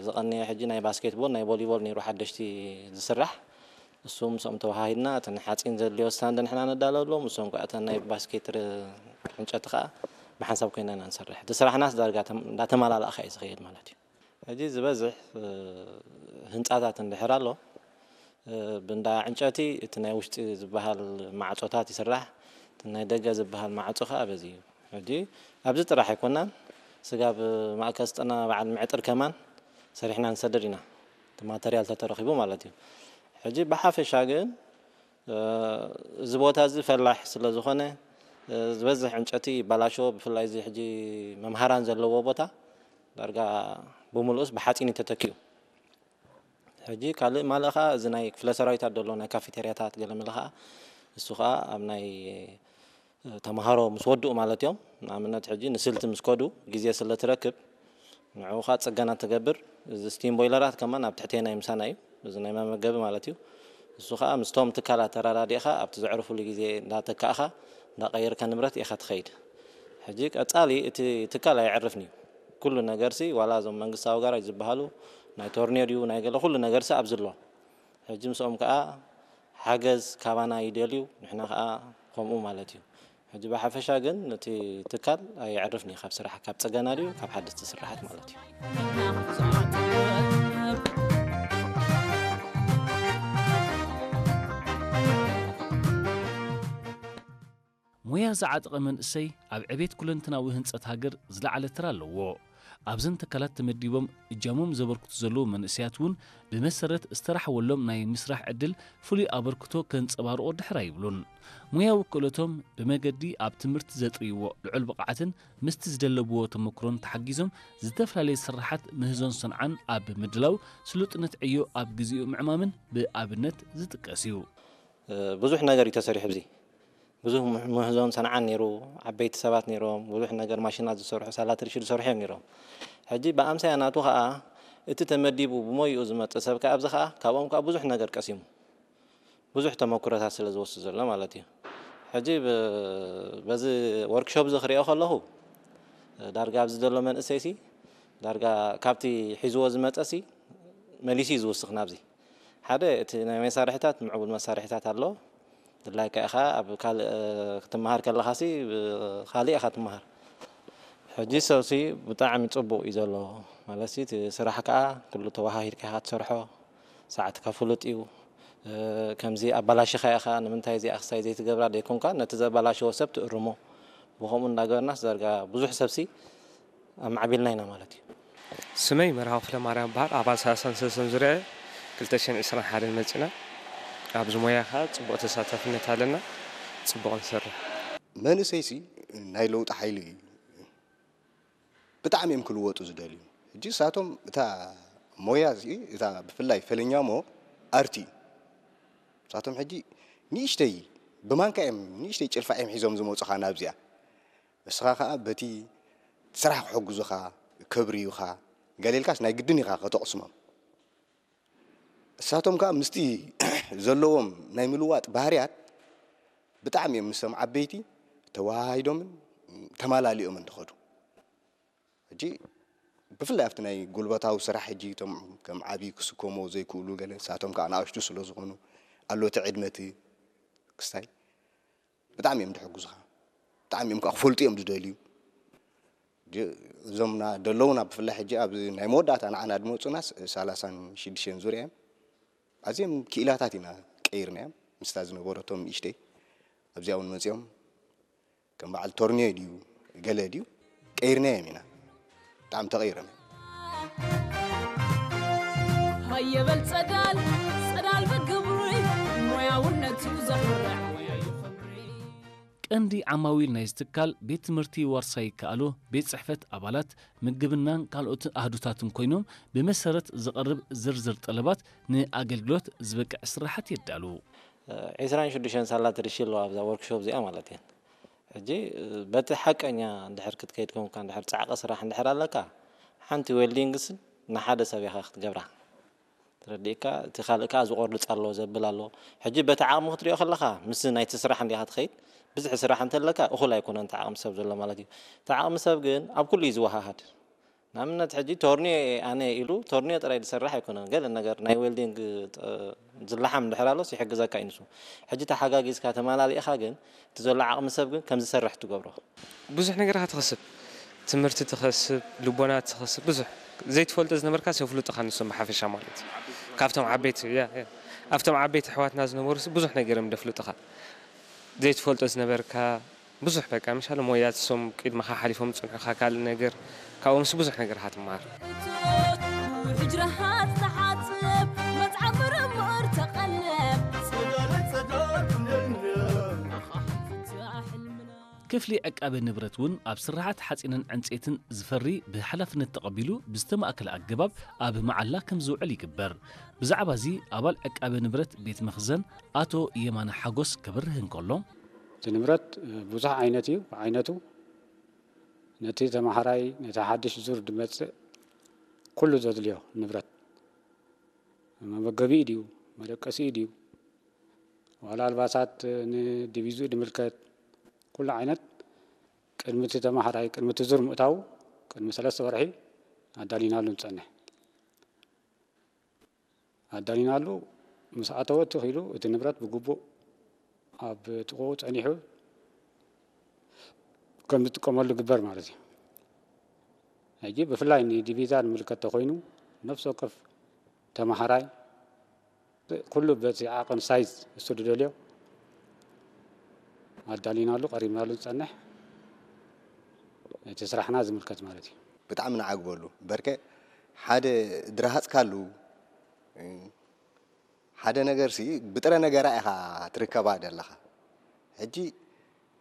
ዝቐነየ ሕጂ ናይ ባስኬትቦል፣ ናይ ቮሊቦል ነይሩ ሓደሽቲ ዝስራሕ። እሱ ምስኦም ተወሃሂድና፣ እተን ሓፂን ዘድልዮ ስታንድ ንሕና ነዳለሎም፣ እሶም ከዓ እተን ናይ ባስኬት ር-፣ ዕንጨቲ ከዓ ብሓንሳብ ኮይና ኢና ንሰርሕ። እቲ ስራሕናስ ዳርጋ ተም-፣ እንዳተመላላእካ እዩ ዝኸይድ ማለት እዩ። ሕጂ ዝበዝሕ፣ እ፣ ህንፃታት እንድሕር ኣሎ፣ እ፣ ብእንዳ ዕንጨቲ እቲ ናይ ውሽጢ ዝበሃል ማዕፆታት ይስራሕ፣ እቲ ናይ ደገ ዝበሃል ማዕፆ ከዓ በዚ እዩ። ሕጂ ኣብዚ ጥራሕ ኣይኮናን፣ ስጋብ ማእከል ስልጠና በዓል ምዕጥር ከማን ሰሪሕና ንሰድድ ኢና፣ እቲ ማተርያል ተተረኺቡ ማለት እዩ። ሕጂ ብሓፈሻ ግን፣ እ፣ እዚ ቦታ እዚ ፈላሕ ስለ ዝኾነ፣ እ፣ ዝበዝሕ ዕንጨቲ ይባላሾ፣ ብፍላይ እዚ ሕጂ መምሃራን ዘለዎ ቦታ ዳርጋ ብምልኡስ ብሓፂን እዩ ተተኪኡ። ሕጂ ካልእ ማልእ ኸዓ እዚ ናይ ክፍለ ሰራዊታት ዘሎ ናይ ካፌቴርያታት ገለ መለ ኸዓ እሱ ኸዓ ኣብ ናይ ተምሃሮ ምስ ወድኡ ማለት እዮም። ንኣብነት ሕጂ ንስልቲ ምስ ከዱ ግዜ ስለ ትረክብ ንዕኡ ኸዓ ጽገና ትገብር። እዚ ስቲም ቦይለራት ከማን ኣብ ትሕቴና እዩ ምሳና እዩ። እዚ ናይ መመገቢ ማለት እዩ። እሱ ኸዓ ምስቶም ትካላት ተረዳዲእኻ ኣብቲ ዘዕርፉሉ ግዜ እንዳተካእኻ እንዳቐየርካ ንብረት ኢኻ ትኸይድ። ሕጂ ቀጻሊ እቲ ትካል ኣየዕርፍን እዩ። ኩሉ ነገርሲ ዋላ እዞም መንግስታዊ ጋራጅ ዝበሃሉ ናይ ቶርኔድዩ ናይ ገለ ኩሉ ነገርሲ ኣብዚ ኣሎ። ሕጂ ምስኦም ከኣ ሓገዝ ካባና ይደልዩ፣ ንሕና ከኣ ከምኡ ማለት እዩ። ሕጂ ብሓፈሻ ግን እቲ ትካል ኣየዕርፍን እዩ ካብ ስራሕ፣ ካብ ጽገና ድዩ ካብ ሓደስቲ ስራሓት ማለት እዩ። ሞያ ዝዓጠቐ መንእሰይ ኣብ ዕቤት ኩለንትናዊ ህንጸት ሃገር ዝለዓለ ተራ ኣለዎ። ኣብዘን ትካላት ተመዲቦም እጃሞም ዘበርክቱ ዘለዉ መንእሰያት እውን ብመሰረት ዝተራሕወሎም ናይ ምስራሕ ዕድል ፍሉይ ኣበርክቶ ከንጸባርቑ ድሕር ኣይብሉን። ሞያዊ ክእለቶም ብመገዲ ኣብ ትምህርቲ ዘጥርይዎ ልዑል ብቕዓትን ምስቲ ዝደለብዎ ተመክሮን ተሓጊዞም ዝተፈላለዩ ስራሓት ምህዞን ሰንዓን ኣብ ምድላው ስሉጥነት ዕዮ ኣብ ግዚኡ ምዕማምን ብኣብነት ዝጥቀስ እዩ። ብዙሕ ነገር እዩ ተሰሪሑ ኣብዚ። ብዙሕ ምህዞን ሰንዓን ነይሩ፣ ዓበይቲ ሰባት ነይሮም፣ ብዙሕ ነገር ማሽናት ዝሰርሑ፣ ሳላት ርሺ ዝሰርሑ እዮም ነይሮም። ሕጂ ብኣምሳያ ናቱ ኸኣ እቲ ተመዲቡ ብሞይኡ ዝመጽእ ሰብ ከኣ ኣብዚ ኸኣ ካብኦም ከኣ ብዙሕ ነገር ቀሲሙ። ብዙሕ ተመኩሮታት ስለ ዝወስድ ዘሎ ማለት እዩ። ሕጂ ብ-፣ በዚ ወርክሾፕ እዚ ክሪኦ ከለኹ ዳርጋ ኣብዚ ዘሎ መንእሰይሲ ዳርጋ ካብቲ ሒዝዎ ዝመጸሲ መሊሱ እዩ ዝውስኽ ናብዚ። ሓደ እቲ ናይ መሳርሕታት ምዕቡል መሳርሕታት ኣሎ። ድላይካ ኢኻ ኣብ ካልእ ክትመሃር ከለኻሲ ብኻልእ ኢኻ ትመሃር። ሕጂ ሰብሲ ብጣዕሚ ጽቡቕ እዩ ዘሎ። ማለትሲ እቲ ስራሕ ከኣ ኩሉ ተወሃሂድካ ኢኻ ትሰርሖ። ሰዓትካ ፍሉጥ እዩ። ከምዚ ኣባላሽኻ ኢኻ ንምንታይ እዚኣ ክሳይ ዘይትገብራ ደይኮንካ ነቲ ዘባላሸዎ ሰብ ትእርሞ። ብኸምኡ እንዳገበርናስ ዳርጋ ብዙሕ ሰብሲ ኣማዕቢልና ኢና ማለት እዩ። ስመይ መርሃዊ ፍለማርያም በሃል ኣባል ሰላሳን ሰለስተን ዙርያ ክልተ ሽሕን ዕስራን ሓደን መፂና ኣብዚ ሞያ ከዓ ፅቡቕ ተሳታፍነት ኣለና ፅቡቕ ንሰርሕ። መንእሰይሲ ናይ ለውጢ ሓይሊ እዩ። ብጣዕሚ እዮም ክልወጡ ዝደልዩ። ሕጂ ንሳቶም እታ ሞያ እዚ እታ ብፍላይ ፈለኛሞ ኣርቲ እዩ። ንሳቶም ሕጂ ንእሽተይ ብማንካ እዮም ንእሽተይ ጭልፋ እዮም ሒዞም ዝመፁኻ ናብዚኣ። ንስኻ ከዓ በቲ ስራሕ ክሕግዙኻ ከብርዩኻ ገለ ኢልካስ ናይ ግድን ኢኻ ከተቕስሞም። ንሳቶም ከዓ ምስቲ ዘለዎም ናይ ምልዋጥ ባህርያት ብጣዕሚ እዮም ምስቶም ዓበይቲ ተወሃሂዶምን ተማላሊኦምን ዝኸዱ። ሕጂ ብፍላይ ኣብቲ ናይ ጉልበታዊ ስራሕ ሕጂ እቶም ከም ዓብዪ ክስከምዎ ዘይክእሉ ገለ ንሳቶም ከዓ ንኣሽቱ ስለ ዝኾኑ ኣሎ እቲ ዕድመ እቲ ክስታይ ብጣዕሚ እዮም ዝሕግዙኻ። ብጣዕሚ እዮም ከዓ ክፈልጡ እዮም ዝደልዩ። እዞም ደለውና ብፍላይ ሕጂ ኣብዚ ናይ መወዳእታ ንዓና ዝመፁና ሳላሳን ሽዱሽተን ዙርያ እዮም። ኣዝዮም ክኢላታት ኢና ቀይርናዮም ምስታ ዝነበረቶም ንእሽተይ ኣብዚኣ እውን መፂኦም ከም በዓል ቶርኒዮ ድዩ ገለ ድዩ ቀይርናዮም ኢና። ብጣዕሚ ተቐይሮም እዮም። ሃየ በል ጸዳል ጸዳል በል ግብሪ ሞያውነቱ ዘኹርዕ ሞያ እዩ ክብሪ። ቀንዲ ዓማዊል ናይዚ ትካል ቤት ትምህርቲ ዋርሳይ ይከኣሎ፣ ቤት ጽሕፈት ኣባላት፣ ምግብናን ካልኦት ኣህዱታትን ኮይኖም ብመሰረት ዝቐርብ ዝርዝር ጠለባት ንኣገልግሎት ዝበቅዕ ስራሓት የዳሉ። ዒስራን ሽዱሽተን ሳላት ርሺ ኣለዋ ኣብዛ ወርክሾፕ እዚኣ ማለት እየን። ሕጂ በቲ ሓቀኛ እንድሕር ክትከይድ ኮንካ እንድሕር ጻዕቂ ስራሕ እንድሕር ኣለካ ሓንቲ ዌልዲንግስ ንሓደ ሰብ ኢኻ ክትገብራ። ተረዲእካ እቲ ካልእ ከኣ ዝቆርጽ ኣሎ ዘብል ኣሎ። ሕጂ በቲ ዓቕሚ ክትሪኦ ከለኻ ምስ ናይቲ ስራሕ እንዲኻ ትኸይድ። ብዝሒ ስራሕ እንተለካ እኹል ኣይኮነን እቲ ዓቕሚ ሰብ ዘሎ ማለት እዩ። እቲ ዓቕሚ ሰብ ግን ኣብ ኩሉ እዩ ዝወሃሃድ። ንኣብነት ሕጂ ቶርኒዮ ኣነ ኢሉ ቶርኒዮ ጥራይ ዝሰርሕ ኣይኮነን። ገለ ነገር ናይ ዌልዲንግ ጥ- ዝለሓም እንድሕር ኣሎስ ይሕግዘካ እዩ ንሱ። ሕጂ ተሓጋጊዝካ ተመላሊእኻ ግን እቲ ዘሎ ዓቕሚ ሰብ ግን ከም ዝሰርሕ ትገብሮ። ብዙሕ ነገራት ትኸስብ፣ ትምህርቲ ትኸስብ፣ ልቦና ትኸስብ፣ ብዙሕ ዘይትፈልጦ ዝነበርካ የፍልጡኻ ንሶም ብሓፈሻ ማለት እዩ። ካብቶም ዓበይቲ ያ ያ ኣብቶም ዓበይቲ ኣሕዋትና ዝነበሩ ብዙሕ ነገር እዮም ደፍልጡኻ። ዘይትፈልጦ ዝነበርካ ብዙሕ በቃ ምሻለ ሞያት ሶም ቅድመኻ ሓሊፎም ዝፅንሑኻ ካልእ ነገር ካብኦምስ ብዙሕ ነገር ኢኻ ትመሃር። ሕጅራሃት ተሓጽብ መጽዓብ ምርምር ተቐለብ ክፍሊ ዕቃበ ንብረት እውን ኣብ ስራሓት ሓፂንን ዕንፀይትን ዝፈሪ ብሓላፍነት ተቐቢሉ ብዝተማእከለ ኣገባብ ኣብ መዓላ ከም ዝውዕል ይግበር። ብዛዕባ እዚ ኣባል ዕቃበ ንብረት ቤት መኽዘን ኣቶ የማነ ሓጎስ ከብርህ እንከሎ፣ እቲ ንብረት ብዙሕ ዓይነት እዩ። ብዓይነቱ ነቲ ተማሃራይ ነቲ ሓድሽ ዙር ድመፅእ ኩሉ ዘድልዮ ንብረት መመገቢኡ ድዩ መደቀሲኡ ድዩ ዋላ ኣልባሳት ንዲቪዝኡ ድምልከት ኩሉ ዓይነት ቅድሚ እቲ ተማሃራይ ቅድሚ እቲ ዙር ምእታዉ ቅድሚ ሰለስተ ወርሒ ኣዳሊናሉ ንፀንሕ። ኣዳሊናሉ ምስ ኣተወ እቲ ኪሉ እቲ ንብረት ብግቡእ ኣብ ጥቕኡ ጸኒሑ ከም ዝጥቀመሉ ግበር ማለት እዩ። ሕጂ ብፍላይ ንዲቪዛ ዝምልከት ተኾይኑ ነፍሲ ወከፍ ተማሃራይ ኩሉ በቲ ዓቕን ሳይዝ እሱ ዝደልዮ ኣዳሊናሉ ቀሪብናሉ ዝጸንሕ እቲ ስራሕና ዝምልከት ማለት እዩ። ብጣዕሚ ንዓግበሉ በርከ ሓደ ድረሃፅካሉ ሓደ ነገር ሲ ብጥረ ነገራ ኢኻ ትርከባ ዘለኻ ሕጂ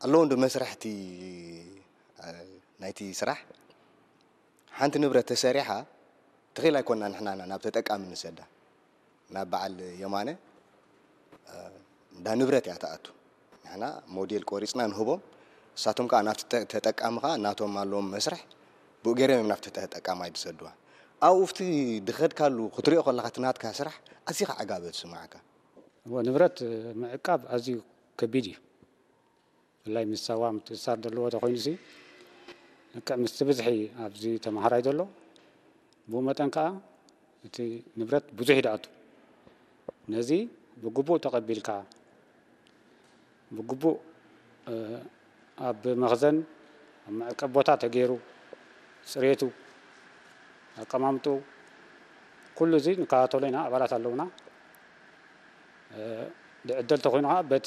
ኣለዉ እንዶ መስርሕቲ ናይቲ ስራሕ ሓንቲ ንብረት ተሰሪሓ ትኽእል ኣይኮና ንሕናና ናብ ተጠቃሚ ንሰዳ ናብ በዓል የማነ እንዳ ንብረት እያ ትኣቱ ንሕና ሞዴል ቆሪፅና ንህቦም እሳቶም ከዓ ናብቲ ተጠቃሚ ከዓ ናቶም ኣለዎም መስርሕ ብኡ ገይሮም እዮም ናብቲ ተጠቃማይ ዝሰድዋ ኣብኡ ፍቲ ድኸድካሉ ክትሪኦ ከለካ እቲ ናትካ ስራሕ ኣዚኻ ዕጋበ ትስማዓካ እወ ንብረት ምዕቃብ ኣዝዩ ከቢድ እዩ ብፍላይ ምስ ሳዋ ምትእስሳር ዘለዎ ተኮይኑ ሲ ልክዕ ምስቲ ብዝሒ ኣብዚ ተማሃራይ ዘሎ ብኡ መጠን ከዓ እቲ ንብረት ብዙሕ ይድኣቱ ነዚ ብግቡእ ተቐቢልካ ብግቡእ ኣብ መኽዘን ኣብ መዕቀብ ቦታ ተገይሩ ፅሬቱ ኣቀማምጡ ኩሉ እዚ ንከታተሎ ኢና ኣባላት ኣለውና ድዕደል ተኮይኑ ከዓ በቲ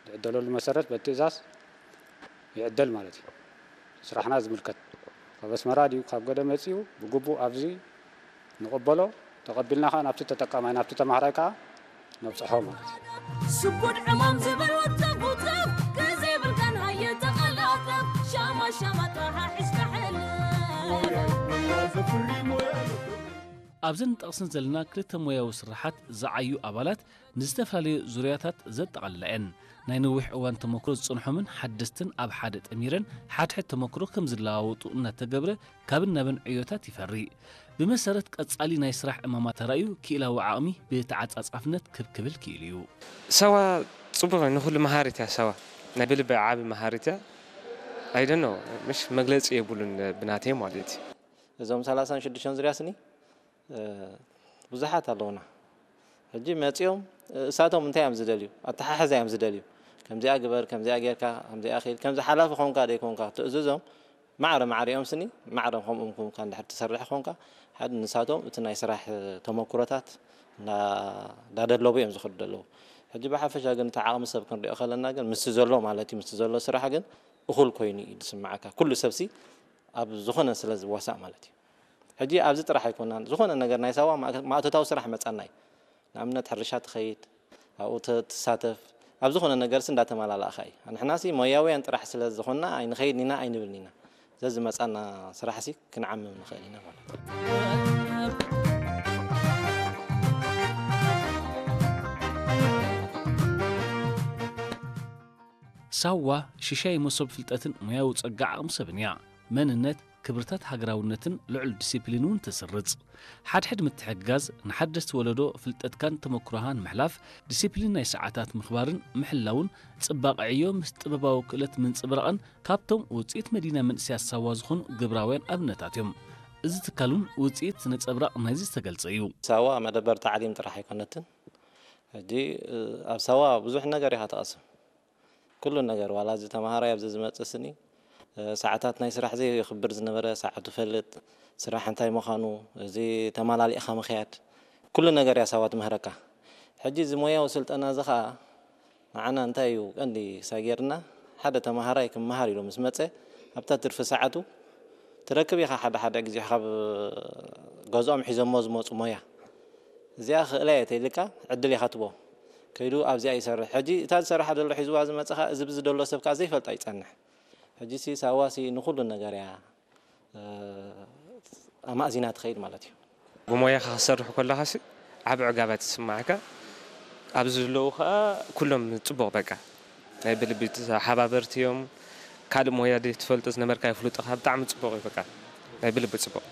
ድዕደለሉ መሰረት በቲ ትእዛዝ ይዕደል ማለት እዩ ስራሕና ዝምልከት ካብ ኣስመራ ድዩ ካብ ገደ መፂኡ ብግቡእ ኣብዚ ንቕበሎ ተቐቢልና ከዓ ናብቲ ተጠቃማይ ናብቲ ተማሃራይ ከዓ ነብፅሖ ማለት እዩ ስቡድ ዕማም ዝብል ወተጉተብ ግዜ ብልካን ሃየ ተቐላጠፍ ሻማ ሻማ ጥራሓ ሒዝካ ሕልፍ ኣብዘን ንጠቕስን ዘለና ክልተ ሞያዊ ስራሓት ዝዓዩ ኣባላት ንዝተፈላለዩ ዙርያታት ዘጠቓልላ እየን። ናይ ነዊሕ እዋን ተመክሮ ዝጸንሖምን ሓደስትን ኣብ ሓደ ጠሚረን ሓድሕድ ተመክሮ ከም ዝለዋወጡ እናተገብረ ካብን ናብን ዕዮታት ይፈሪ። ብመሰረት ቀጻሊ ናይ ስራሕ ዕማማት ተራእዩ ክኢላዊ ዓቕሚ ብተዓጻጻፍነት ክብ ክብል ክኢሉ እዩ። ሳዋ ጽቡቕ እዩ፣ ንኹሉ መሃሪት እያ ሳዋ። ናይ ብልቢ ዓቢ መሃሪት እያ። ኣይደኖ ምሽ መግለጺ የብሉን ብናተይ ማለት እዩ። እዞም ሰላሳን ሽዱሽተን ዙርያ ስኒ ብዙሓት ኣለውና። ሕጂ መፂኦም እሳቶም እንታይ እዮም ዝደልዩ? ኣተሓሕዛ እዮም ዝደልዩ። ከምዚኣ ግበር፣ ከምዚኣ ጌርካ፣ ከምዚኣ ኺድ፣ ከምዚ ሓላፊ ኾንካ ደይኮንካ ክትእዝዞም ማዕረ ማዕሪኦም ስኒ ማዕረ ከምኦም ኮንካ እንድሕር ትሰርሕ ኾንካ ሓደ ንሳቶም እቲ ናይ ስራሕ ተመኩሮታት እንዳደለቡ እዮም ዝኸዱ ዘለዉ። ሕጂ ብሓፈሻ ግን እቲ ዓቕሚ ሰብ ክንሪኦ ከለና ግን ምስቲ ዘሎ ማለት እዩ ምስቲ ዘሎ ስራሕ ግን እኹል ኮይኑ እዩ ዝስምዓካ። ኩሉ ሰብሲ ኣብ ዝኾነ ስለ ዝዋሳእ ማለት እዩ። ሕጂ ኣብዚ ጥራሕ ኣይኮናን፣ ዝኾነ ነገር ናይ ሳዋ ማእቶታዊ ስራሕ መጻና እዩ። ንኣብነት ሕርሻ ትኸይድ፣ ኣብኡ ትሳተፍ፣ ኣብ ዝኾነ ነገርሲ እንዳተመላላእኻ እዩ። ንሕናሲ ሞያውያን ጥራሕ ስለ ዝኾንና ኣይንኸይድን ኢና ኣይንብልን ኢና። ዘዝመጻና ስራሕሲ ክንዓምም ንኽእል ኢና ማለት እዩ። ሳዋ ሽሻይ መሶብ ፍልጠትን ሞያዊ ጸጋ ዓቕሚ ሰብን እያ። መንነት፣ ክብርታት ሃገራውነትን ልዑል ዲሲፕሊን እውን ትስርጽ። ሓድሕድ ምትሕግጋዝ ንሓደስቲ ወለዶ ፍልጠትካን ተመክሮኻን ምሕላፍ፣ ዲሲፕሊን ናይ ሰዓታት ምኽባርን ምሕላውን ጽባቐ ዕዮ ምስ ጥበባዊ ክእለት ምንጽብራቕን ካብቶም ውጽኢት መዲና መንእሰያት ሳዋ ዝኾኑ ግብራውያን ኣብነታት እዮም። እዚ ትካል እውን ውጽኢት ነጸብራቕ ናይዚ ዝተገልጸ እዩ። ሳዋ መደበር ታዕሊም ጥራሕ ኣይኮነትን። ሕጂ ኣብ ሳዋ ብዙሕ ነገር ኢኻ ትቐስም። ኩሉ ነገር ዋላ እዚ ተምሃራይ ኣብዚ ዝመጽእ ስኒ ሰዓታት ናይ ስራሕ ዘየኽብር ዝነበረ ሰዓቱ ፈልጥ፣ ስራሕ እንታይ ምዃኑ፣ እዚ ተማላሊእኻ ምኽያድ፣ ኩሉ ነገር እያ ሳዋ ትምህረካ። ሕጂ እዚ ሞያዊ ስልጠና እዚ ኸኣ ንዓና እንታይ እዩ ቀንዲ ሳጌርና፣ ሓደ ተምሃራይ ክመሃር ኢሉ ምስ መጸ ኣብታ ትርፊ ሰዓቱ ትረክብ ኢኻ ሓደ ሓደ ግዜ ካብ ገዝኦም ሒዞሞ ዝመጹ ሞያ። እዚኣ ክእለ እየ ተይልካ ዕድል ኢኻ ትቦ። ከይዱ ኣብዚኣ ይሰርሕ። ሕጂ እታ ዝሰርሓ ዘሎ ሒዝዋ ዝመጽኻ እዚ ብዚ ደሎ ሰብ ከኣ ዘይፈልጣ ይጸንሕ። ሕጂ ሲ ሳዋ ሲ ንኹሉ ነገር እያ ኣማእዚና ትኸይድ ማለት እዩ። ብሞያኻ ክትሰርሕ ከለኻ ሲ ዓቢ ዕጋባት ይስማዓካ። ኣብዚ ዘለዉ ከኣ ኩሎም ጽቡቕ በቃ ናይ ብልቢ ተሓባበርቲ እዮም። ካልእ ሞያ ደይ ትፈልጦ ዝነበርካ ይፍልጡኻ ብጣዕሚ ጽቡቕ እዩ በቃ ናይ ብልቢ ጽቡቕ።